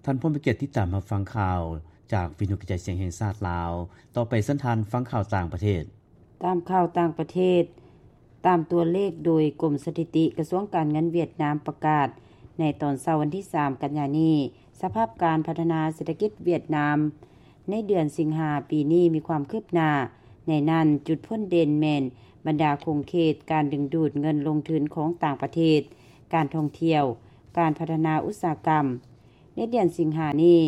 ທ່ານຜູ້ມີກຽດຕິດຕາມຮັບຟັງຂ່າວຈາກວິທະຍຸກະຈາຍສຽງແຫ່ງຊາດລາວ. ຕໍ່ໄປເຊີນທ່ານຟັງຂ່າວຕ່າງປະເທດ. ຕາມຂ່າວຕ່າງປະເທດ, ຕາມຕົວເລກໂດຍກົມສະຖິຕິ ກະຊວງການເງິນຫວຽດນາມປະກາດໃນຕອນເຊົ້າວັນທີສາມ ກັນຍານີ້, ສະພາບການພັດທະນາເສດຖະກິດຫວຽດນາມໃນເດືອນສິງຫາປີນີ້ມີຄວາມຄືບໜ້າ. ໃນນັ້ນ, ຈຸດພົ້ນເດັ່ນແມ່ນບັນດາຂົງເຂດການດຶງດູດເງິນລົງທຶນຂອງຕ່າງປະເທດ, ການທ່ອງທ່ຽວ, ການພັດທະນາອຸດສາຫະກຳ. ໃນເດືອນສິງຫານີ້,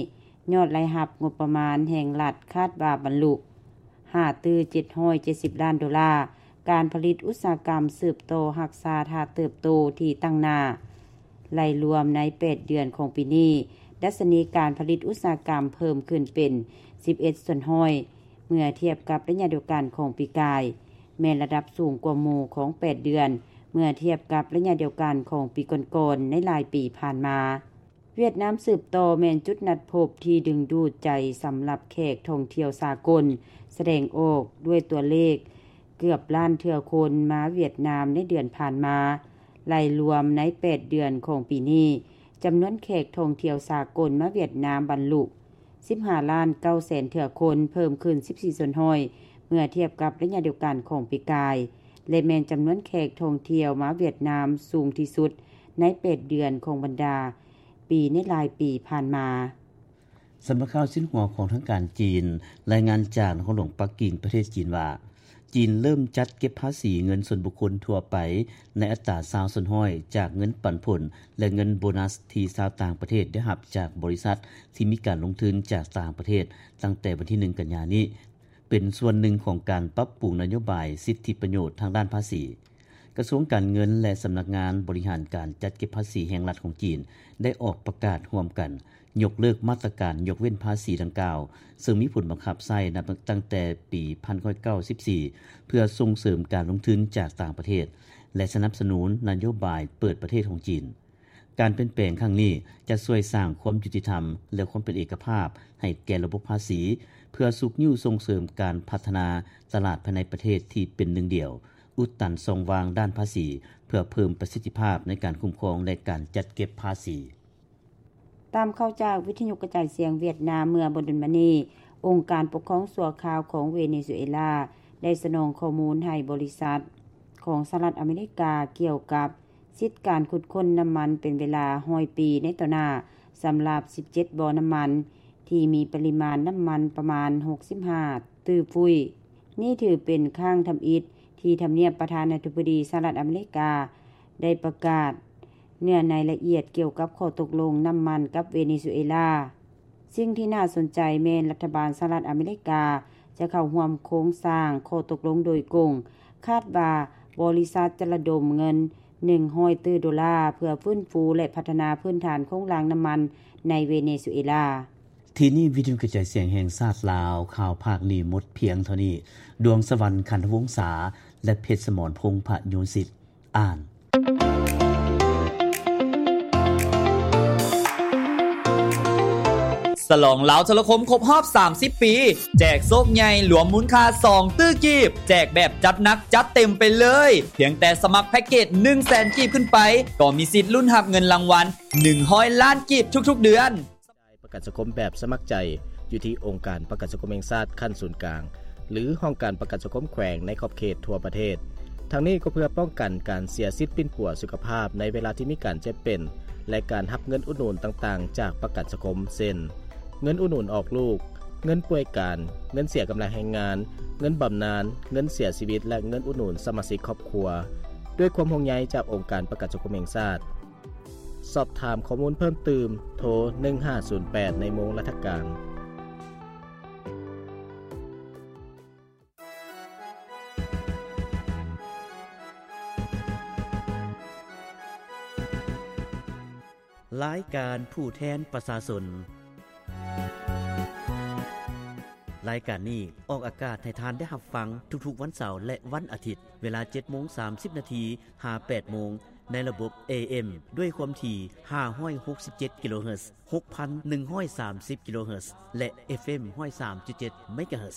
ຍອດລາຍຮັບງົບປະມານແຫ່ງລັດຄາດວ່າບັນລຸຫ້າຕື້ເຈັດຮ້ອຍເຈັດສິບລ້ານໂດລາ, ການຜະລິດອຸດສາຫະກຳສືບຕໍ່ຮັກສາທ່າເຕີບໂຕທີ່ຕັ້ງໜ້າ. ໄລ່ລວມໃນແປດເດືອນຂອງປີນີ້, ດັດຊະນີການຜະລິດອຸດສາຫະກຳເພີ່ມຂຶ້ນເປັນສິບເອັດສ່ວນຮ້ອຍ ເມື່ອທຽບກັບໄລຍະດຽວກັນຂອງປີກາຍ, ແມ່ນລະດັບສູງກວ່າໝູ່ຂອງແປດເດືອນ ເມື່ອທຽບກັບໄລຍະດຽວກັນຂອງປີກ່ອນໆ ໃນຫຼາຍປີຜ່ານມາ. ຫວຽດນາມສືບຕໍ່ແມ່ນຈຸດນັດພົບທີ່ດຶງດູດໃຈສຳລັບແຂກທ່ອງທ່ຽວສາກົນ, ສະແດງອອກດ້ວຍຕົວເລກເກືອບລ້ານເທື່ອຄົນມາຫວຽດນາມໃນເດືອນຜ່ານມາ. ໄລ່ລວມໃນແປດເດືອນຂອງປີນີ້, ຈຳນວນແຂກທ່ອງທ່ຽວສາກົນມາຫວຽດນາມບັນລຸສິບຫ້າລ້ານເກົ້າແສນເທື່ອຄົນ, ເພີ່ມຂຶ້ນສິບສີ່ສ່ວນຮ້ອຍ ເມື່ອທຽບກັບໄລຍະດຽວກັນຂອງປີກາຍ ແລະ ແມ່ນຈຳນວນແຂກທ່ອງທ່ຽວມາຫວຽດນາມສູງທີ່ສຸດໃນແປດເດືອນຂອງບັນດາ ປີໃນຫຼາຍປີຜ່ານມາ. ສຳນັກຂ່າວຊິນຫົວຂອງທາງການຈີນ ລາຍງານຈາກນະຄອນຫຼວງປັກກິ່ງ ປະເທດຈີນວ່າ, ຈີນເລີ່ມຈັດເກັບພາສີເງິນສ່ວນບຸກຄົນທົ່ວໄປ ໃນອັດຕາຊາວສ່ວນຮ້ອຍ ຈາກເງິນປັນຜົນ ແລະ ເງິນໂບນັສທີ່ຊາວຕ່າງປະເທດໄດ້ຮັບຈາກບໍລິສັດທີ່ມີການລົງທຶນຈາກຕ່າງປະເທດ ຕັ້ງແຕ່ວັນທີໜຶ່ງ ກັນຍານີ້. ເປັນສ່ວນໜຶ່ງຂອງການປັບປຸງນະໂຍບາຍສິດທິປະໂຫຍດທາງດ້ານພາສີ. ກະຊວງການເງິນ ແລະ ສຳນັກງານບໍລິຫານການຈັດເກັບພາສີແຫ່ງລັດຂອງຈີນ ໄດ້ອອກປະກາດຮ່ວມກັນ ຍົກເລີກມາດຕະການຍົກເວັ້ນພາສີດັ່ງກ່າວ, ເຊິ່ງມີຜົນບັງຄັບໃຊ້ນັບຕັ້ງແຕ່ປີໜຶ່ງພັນເກົ້າຮ້ອຍເກົ້າສິບສີ່ ເພື່ອສົ່ງເສີມການລົງທຶນຈາກຕ່າງປະເທດ ແລະ ສະໜັບສະໜູນນະໂຍບາຍເປີດປະເທດຂອງຈີນ. ການປ່ຽນແປງຄັ້ງນີ້ຈະຊ່ວຍສ້າງຄວາມຍຸຕິທຳ ແລະ ຄວາມເປັນເອກະພາບໃຫ້ແກ່ລະບົບພາສີ, ເພື່ອຊຸກຍູ້ສົ່ງເສີມການພັດທະນາຕະຫຼາດພາຍໃນປະເທດທີ່ເປັນໜຶ່ງດຽວ, ອຸດຕັນຊ່ອງວ່າງດ້ານພາສີ ເພື່ອເພີ່ມປະສິດທິພາບໃນການຄຸ້ມຄອງ ແລະ ການຈັດເກັບພາສີ. ຕາມຂ່າວຈາກວິທະຍຸກະຈາຍສຽງຫວຽດນາມ, ເມື່ອບໍ່ດົນມານີ້, ອົງການປົກຄອງຊົ່ວຄາວຂອງເວເນຊູເອລາ ໄດ້ສະໜອງຂໍ້ມູນໃຫ້ບໍລິສັດຂອງສະຫະລັດອາເມລິກາກ່ຽວກັບ ສິດການຂຸດຄົ້ນນ້ຳມັນເປັນເວລາຮ້ອຍປີໃນຕໍ່ໜ້າ ສຳລັບສິບເຈັດບໍ່ນ້ຳມັນ ທີ່ມີປະລິມານນ້ຳມັນປະມານຫົກສິບຫ້າຕື້ຟຸ້ຍ. ນີ້ຖືເປັນຄັ້ງທຳອິດທີ່ທຳນຽບປະທານາທິບໍດີສະຫະລັດອາເມລິກາ ໄດ້ປະກາດເນື້ອໃນລະອຽດກ່ຽວກັບຂໍ້ຕົກລົງນ້ຳມັນກັບເວເນຊູເອລາ. ສິ່ງທີ່ໜ້າສົນໃຈແມ່ນລັດຖະບານສະຫະລັດອາເມລິກາຈະເຂົ້າຮ່ວມໂຄງສ້າງຂໍ້ຕົກລົງໂດຍກົງ, ຄາດວ່າບໍລິສັດຈະລະດົມເງິນໜຶ່ງຮ້ອຍຕື້ໂດລາ ເພື່ອຟື້ນຟູ ແລະ ພັດທະນາພື້ນຖານໂຄງລ່າງນ້ຳມັນໃນເວເນຊູເອລາ. ທີ່ນີ້ວິທະຍຸກະຈາຍສຽງແຫ່ງຊາດລາວ, ຂ່າວພາກນີ້ໝົດພຽງເທົ່ານີ້. ດວງສະຫວັນ ຂັນທະວົງສາ ແລະ ເພັດສະໝອນ ພົງພະຍູນສິດ ອ່ານ. ສະຫຼອງລາວໂທລະຄົມຄົບຮອບສາມສິບປີ ແຈກໂຊກໃຫຍ່ລວມມູນຄ່າສອງຕື້ກີບ ແຈກແບບຈັດໜັກຈັດເຕັມໄປເລີຍ. ພຽງແຕ່ສະໝັກແພັກເກດໜຶ່ງແສນກີບຂຶ້ນໄປ ກໍມີສິດລຸ້ນຮັບເງິນລາງວັນໜຶ່ງຮ້ອຍລ້ານກີບທຸກໆເດືອນ. ປະກັນສັງຄົມແບບສະໝັກໃຈ ຢູ່ທີ່ອົງການປະກັນສັງຄົມແຫ່ງຊາດຂັ້ນສູນກາງ ຫຼື ຫ້ອງການປະກັນສັງຄົມແຂວງໃນຂອບເຂດທົ່ວປະເທດ. ທັງນີ້ກໍເພື່ອປ້ອງກັນການເສຍສິດປິ່ນປົວສຸຂະພາບໃນເວລາທີ່ມີການເຈັບເປັນ ແລະ ການຮັບເງິນອຸດໜູນຕ່າງໆຈາກປະກັນສັງຄົມ ເຊັ່ນ ເງິນອຸດໜູນອອກລູກ, ເງິນປ່ວຍການ, ເງິນເສຍກຳລັງແຮງງານ, ເງິນບຳນານ, ເງິນເສຍຊີວິດ ແລະ ເງິນອຸດໜູນສະມາຊິກຄອບຄົວ. ດ້ວຍຄວາມຫ່ວງໃຍຈາກອົງການປະກັນສັງຄົມແຫ່ງຊາດ. ສອບຖາມຂໍ້ມູນເພີ່ມຕື່ມ ໂທ ໜຶ່ງຫ້າສູນແປດ ໃນໂມງລັດຖະການ. ລາຍການຜູ້ແທນປະຊາຊົນ. ລາຍການນີ້ອອກອາກາດໃຫ້ທ່ານໄດ້ຮັບຟັງທຸກໆວັນເສົາ ແລະ ວັນອາທິດ, ເວລາເຈັດໂມງສາມສິບນາທີ ຫາແປດໂມງ ໃນລະບົບ ເອເອັມ ດ້ວຍຄວາມຖີ່ຫ້າຮ້ອຍຫົກສິບເຈັດກິໂລເຮີດ, ຫົກພັນໜຶ່ງຮ້ອຍສາມສິບກິໂລເຮີດ ແລະ ເອັຟເອັມ ຮ້ອຍສາມຈຸດເຈັດເມກາເຮີດ.